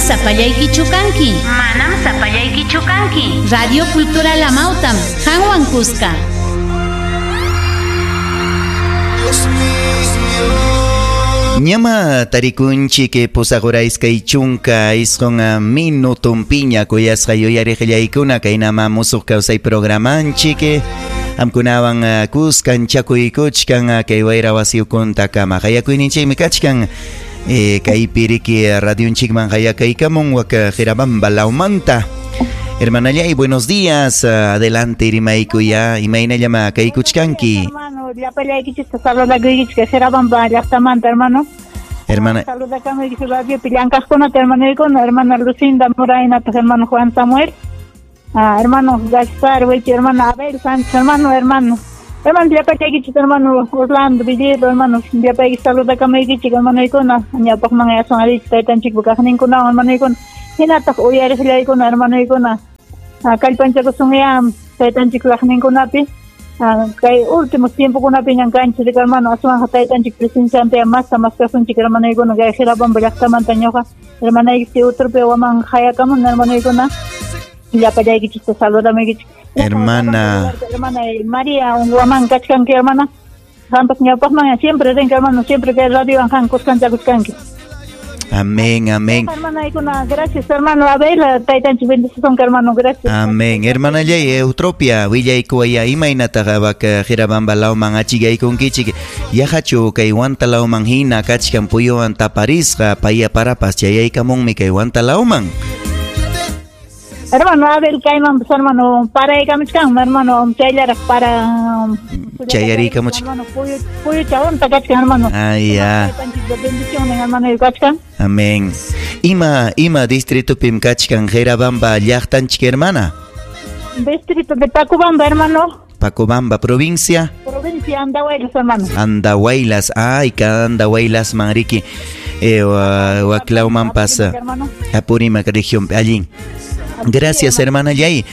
Sapallaykichu kanki. Manam sapallaykichu kanki. Radio Cultural Amautam, qanwan kuska. Ñama tarikunchik pusaq hora 29 minutunpiña kuyasqa yuyariqllaykuna kaynama musuq kawsay programanchik qamkunawan kuskan chakuykuchkan kay wayra wasiyukuntakama qayakuyninchikmi kachkan kaypi riki radionchikman qayakaykamun wak Jirabamba lawmanta. Hermanallay, buenos días. Adelante, rimaykuya. Imaynallama kaykuchkanki. Hermano, llapallaykichikta saludakuykichik Jirabamba llaqtamanta, hermano. Hermana. Saludakamuykichik radiopi llankaqkunata, hermanoykuna, hermana Lucinda Morainata, hermano Juan Samuel, hermano Gaspar, Huichi, hermano Abel Sánchez, hermano, hermano. Hermano, llapallaykichik, hermano Orlando Villero, hermano, llapayki saludakamuykichik, hermanoykuna, ñawpaqman yasun arichik taytanchikpa kaqninkunawan, hermanoykuna. Hinataq uyariqllaykuna, hermanoykuna. Kallpanchakusunyá taytanchik kaqninkunapi. Kay últimos tiempokunapi ñan kanchik, hermano, aswanqa taytanchik presenciante masta maskasunchik, hermanoykuna, kay Jirabamba llaqtamanta ñuqa, hermanaykichik uturpi waman hayakamun, hermanoykuna. Llapallaykichikta saludamuykichik. Hermana. Hermana María, waman kachkanki, hermana. Qampas ñawpaqman siempre rinki, hermano, siempre kay radiowan qan kuskanchakuchkanki. Amén, amén. Hermana, gracias, hermano Abel, taytanchik bendicisun, hermano, gracias. Amén. Hermana Yay, Eutropia, willaykuwaya imaynataqa wak Jirabamba lawman achikaykunkichik. Yahachu kay Huanta lawman hina kachkan puyuwan taparisqa paya parapas chayaykamunmi kay Huanta lawman. Hermano Abel, kayman, pues, hermano, paraykamuchkan, hermano, chayllaraq para chayarikamuchkan. Hermano, puyucha unta kachkan, hermano. Ah, ya. Bendición, hermano, kachkan. Amén. Ima distritopim kachkan Jirabamba llaqtanchik, hermana? Distrito de Pacobamba, hermano. Pacobamba, provincia. Provincia Andahuaylas, hermano. Andahuaylas, ay, ka Andahuaylas, manriki. Huaclauman pasa. Apurímac región, allí. Gracias, hermana Yay.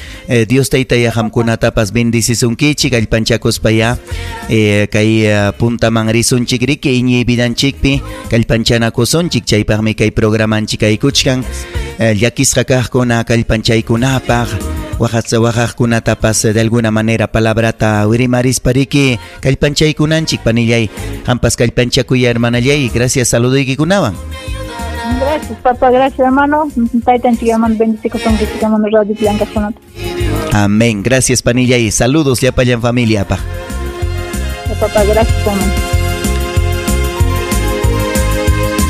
Dios tayta yaqamkunatapas bendicisunkichik, kallpanchakuspaya kay puntaman risunchik riki iñiy vidanchikpi kallpanchanakusunchik, chaypaqmi kay programanchik aykuchkan llakisqa kaqkuna kallpanchaykunapaq waqaqkunatapas de alguna manera palabrata wirimarispa riki kallpanchaykunanchik panillay. Qampas kallpanchakuya, hermana Yay. Gracias, saludoykikunawan. Gracias, papá, gracias, hermano. Taytanchik, hermano, bendicikusonkichik, hermano, radio llankaqkunata. Amén. Gracias, panilla, y saludos llapallan familia, pa. Papá, gracias, hermano.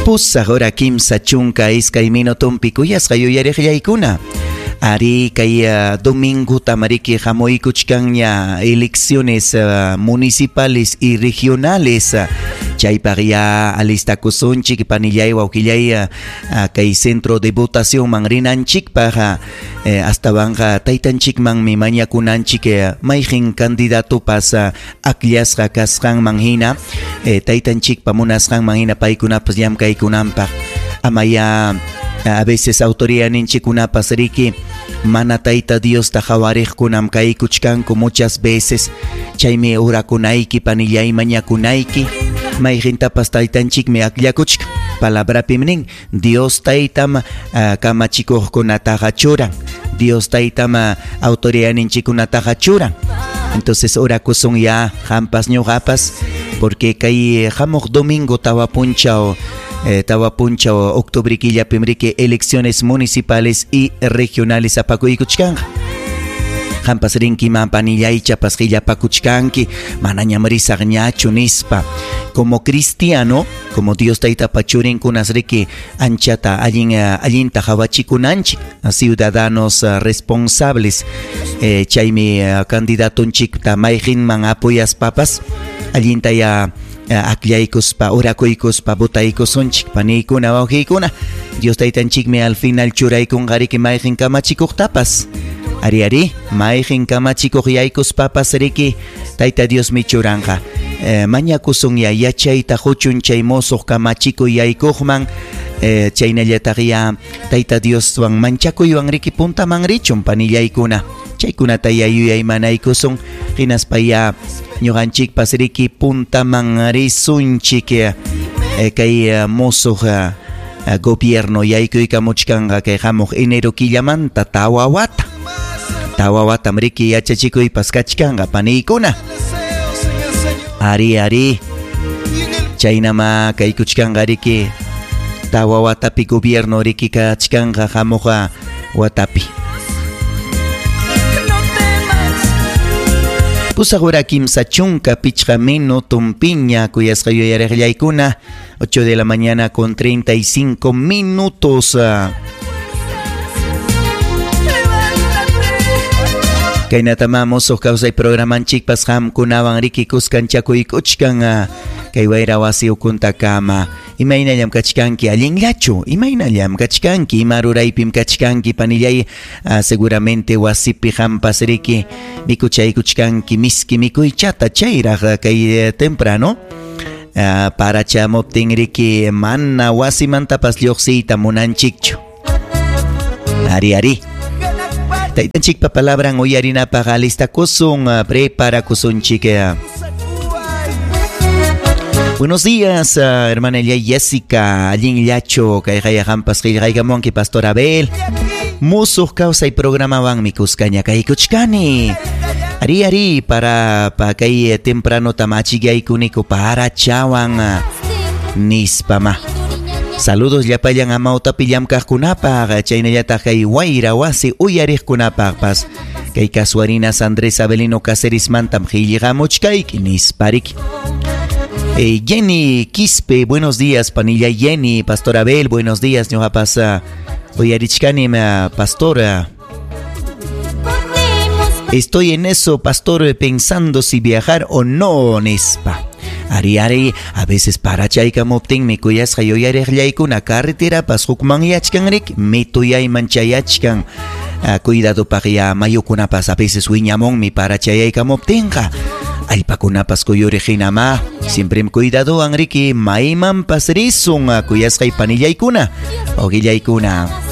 Pusaq hora 32 minutunpi kuyasqa yuyariqllaykuna. Ari kay domingo tamariki hamuykuchkanña elecciones municipales y regionales. Chaypaq ya alistakusunchik panillay wawqillay kay centro de votación man rinanchikpaq astawanqa taytanchikmanmi mañakunanchik mayqin candidatopas akllasqa kasqanman hina taytanchikpa munasqanman hina paykunapas llamkaykunanpaq. Amaya a veces autoridadninchikkunapas riki mana tayta Diosta qhawariqkunam kaykuchkanku muchas veces. Chaymi urakunayki panillay mañakunayki mayqintapas taytanchikmi akllakuchkan. Palabrapim nin Dios taytam kamachikuqkunataqa churan, Dios taytam autoridadninchikkunataqa churan. Entonces orakusun ya qampas ñuqapas, porque kay hamuq domingo tawa punchaw octubre killapim riki elecciones municipales y regionales apakuykuchkanqa. Qampas rinkiman panillaychapas qillapakuchkanki, manañam risaqñachu nispa. Como cristiano, como Dios taytapa churinkunas riki anchata allinta qawachikunanchik, ciudadanos responsables. Chaymi candidatonchikta mayqinman apoyaspapas allinta ya aklaykuspa, orakuykuspa, votaykusunchik, paniykuna, wawqiykuna. Dios taytanchikmi al final churaykunqa riki mayqin kamachikuqtapas. Ari ari, mayqin kamachikuq yaykuspapas riki Tayta Diosmi churanqa. Mañakusun ya yachayta huchun chay mosuq kamachikuy yaykuqman, chaynallataq ya Tayta Dioswan manchakuywan riki puntaman richun panillaykuna. Chaykunata ya yuyaymanaykusun, hinaspa ya ñuqanchikpas riki puntaman risunchik kay mosuq Gobierno yaykuykamuchkanqa kay hamuq enero killamanta tawa wata. Tawa watam riki yachachikuypas kachkanqa paniykuna. Ari ari. Chaynama kaykuchkanqa riki tawa watapi gobierno riki kachkanqa hamuqa watapi. 8 hora 35 minutumpiña kuyasqa yuyariqllaykuna, 8 de la mañana con 35 minutos. Kaynatama musuq kawsay programanchikpas qamkunawan riki kuskanchakuykuchkan kay wayra wasi ukuntakama. Imaynallam kachkanki, allinllachu? Imaynallam kachkanki, ima ruraypim kachkanki, panillay? Seguramente wasipi qampas riki mikuchaykuchkanki miski mikuychata chayraq kay temprano. Parachamuptin riki mana wasimantapas lluqsiyta munanchikchu. Ari ari. Taytanchikpa palabran uyarinapaq alistakusun, preparakusunchik. Buenos días, hermana Jessica, allinllachu, kay qampas qillqaykamunki, Pastor Abel. Musuq kawsay programawanmi kuskaña kaykuchkani. Ari ari para pa kay temprano tamachigaykuniko para chawan nispama. Saludos llapallan amawtapi llamkaqkunapaq, chaynallataq kay wayra wasi uyariqkunapaqpas. Kay Casuarinas Andrés Avelino Caceres mantam qillqamuchkayki nispariki. Jenny Quispe, buenos días, panilla Jenny, Pastor Abel, buenos días, ñuqapas uyarichkani, pastora. Estoy en eso, pastor, pensando si viajar o no, nispa. Ari ari, a veces para chaykamuptinmi kuyasqa yuyariqllaykuna carreterapas hukmanyachkan riki, mituyayman chayachkan. Cuidadopaq ya mayukunapas a veces wiñamunmi para chayaykamuptinqa. Allpakunapas kuyuriq hinama, siempre cuidadowan riki maymanpas risun kuyasqay panillaykuna, oqillaykuna.